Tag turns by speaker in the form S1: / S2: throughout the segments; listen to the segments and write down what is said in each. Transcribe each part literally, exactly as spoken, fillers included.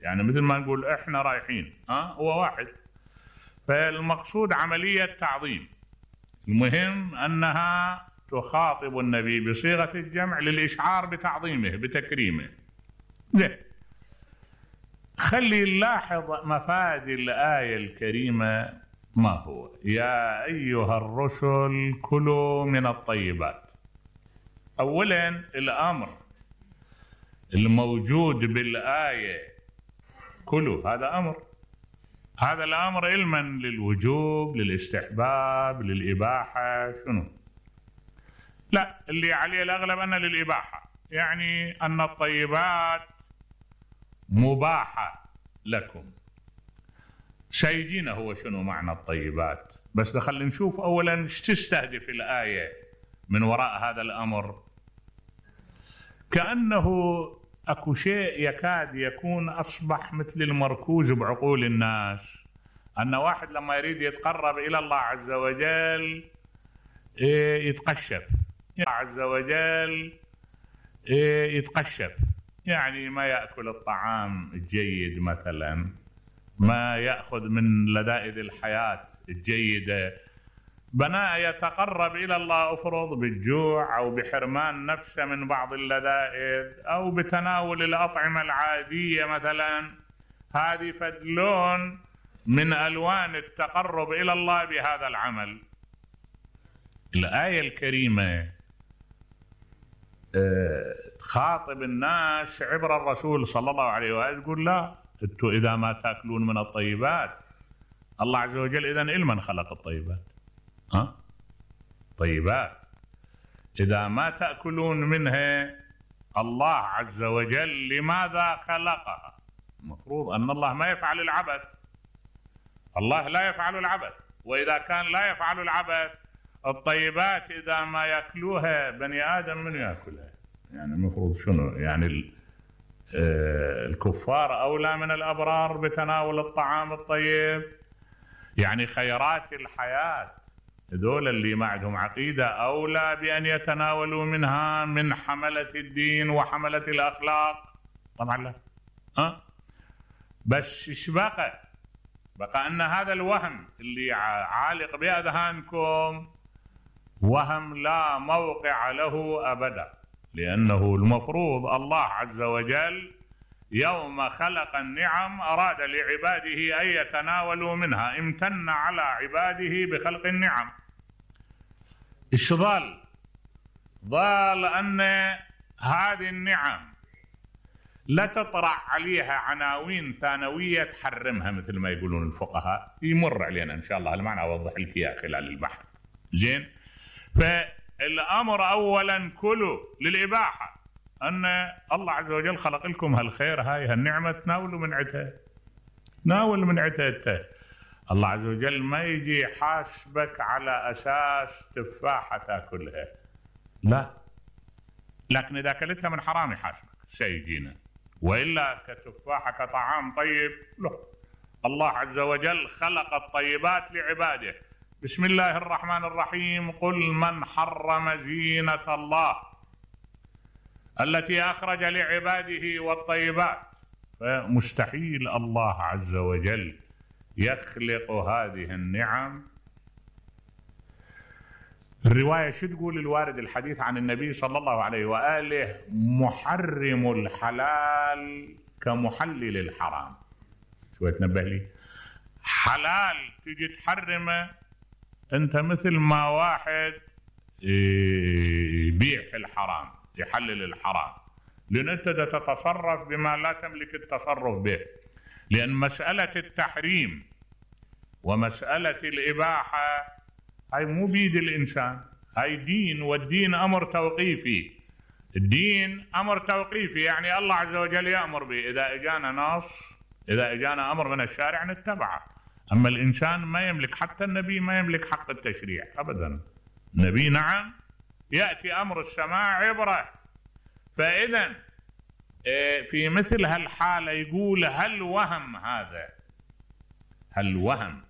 S1: يعني مثل ما نقول احنا رايحين، ها هو واحد. فالمقصود عملية تعظيم. المهم أنها تخاطب النبي بصيغة الجمع للإشعار بتعظيمه بتكريمه. زين، خلي نلاحظ مفاد الآية الكريمة ما هو. يا أيها الرسل كلوا من الطيبات. أولا الأمر الموجود بالآية كلوا هذا أمر، هذا الأمر علما للوجوب للاستحباب للإباحة شنو؟ لا، اللي عليه الأغلب أنه للإباحة، يعني أن الطيبات مباحة لكم. سيجينا هو شنو معنى الطيبات، بس خلينا نشوف أولا ايش تستهدف الآية من وراء هذا الأمر. كأنه أكو شيء يكاد يكون أصبح مثل المركوز بعقول الناس، أن واحد لما يريد يتقرب إلى الله عز وجل يتقشف، الله عز وجل يتقشف، يعني ما يأكل الطعام الجيد مثلا، ما يأخذ من لذائذ الحياة الجيدة، بناء يتقرب إلى الله أفرض بالجوع أو بحرمان نفسه من بعض اللذائذ أو بتناول الأطعمة العادية مثلا. هذه فدلون من ألوان التقرب إلى الله بهذا العمل. الآية الكريمة تخاطب الناس عبر الرسول صلى الله عليه وآله، تقول لا انتوا إذا ما تأكلون من الطيبات، الله عز وجل إذن إلمن خلق الطيبات؟ ها؟ طيبات إذا ما تأكلون منها، الله عز وجل لماذا خلقها؟ المفروض أن الله ما يفعل العبث، الله لا يفعل العبث، وإذا كان لا يفعل العبث الطيبات إذا ما يأكلوها بني آدم من يأكلها؟ يعني المفروض شنو؟ يعني الكفار أولى من الأبرار بتناول الطعام الطيب؟ يعني خيرات الحياة هذول اللي ما عندهم عقيدة أولى بأن يتناولوا منها من حملة الدين وحملة الأخلاق؟ طبعا لا. أه؟ بس إيش بقى؟ بقى أن هذا الوهم اللي عالق بأذهانكم وهم لا موقع له أبدا، لأنه المفروض الله عز وجل يوم خلق النعم أراد لعباده أن يتناولوا منها، امتن على عباده بخلق النعم. إيش ظل؟ ظل أن هذه النعم لا تطرح عليها عناوين ثانوية تحرمها مثل ما يقولون الفقهاء، يمر علينا إن شاء الله المعنى أوضح لك إياه خلال البحث. زين، فالأمر أولا كله للإباحة، أن الله عز وجل خلق لكم هالخير، هاي هالنعمة تناولوا من عدها، ناول من عدها. الله عز وجل ما يجي يحاسبك على أساس تفاحة تاكلها، لا، لكن إذا أكلتها من حرام يحاسبك سيجينا، وإلا كتفاحة كطعام طيب لا. الله عز وجل خلق الطيبات لعباده. بسم الله الرحمن الرحيم: قل من حرم زينة الله التي أخرج لعباده والطيبات. فمستحيل الله عز وجل يخلق هذه النعم. الرواية شو تقول؟ الوارد الحديث عن النبي صلى الله عليه وآله: محرم الحلال كمحلل الحرام. شوية تنبه لي، حلال تجي تحرمه انت مثل ما واحد يبيع في الحرام يحلل الحرام، لأن أنت تتصرف بما لا تملك التصرف به. لأن مسألة التحريم ومسألة الإباحة هاي مو بيد الإنسان، هاي دين، والدين أمر توقيفي. الدين أمر توقيفي، يعني الله عز وجل يأمر به، إذا إجانا نص، إذا إجانا أمر من الشارع نتبعه. أما الإنسان ما يملك، حتى النبي ما يملك حق التشريع أبدا. النبي نعم يأتي أمر السماء عبره. فإذا في مثل هالحالة يقول: هل وهم هذا، هل وهم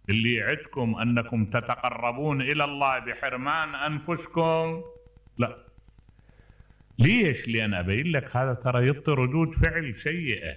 S1: اللي يعدكم أنكم تتقربون إلى الله بحرمان أنفسكم؟ لا. ليش؟ لأن أبين لك هذا ترى يعطي ردود فعل سيئة.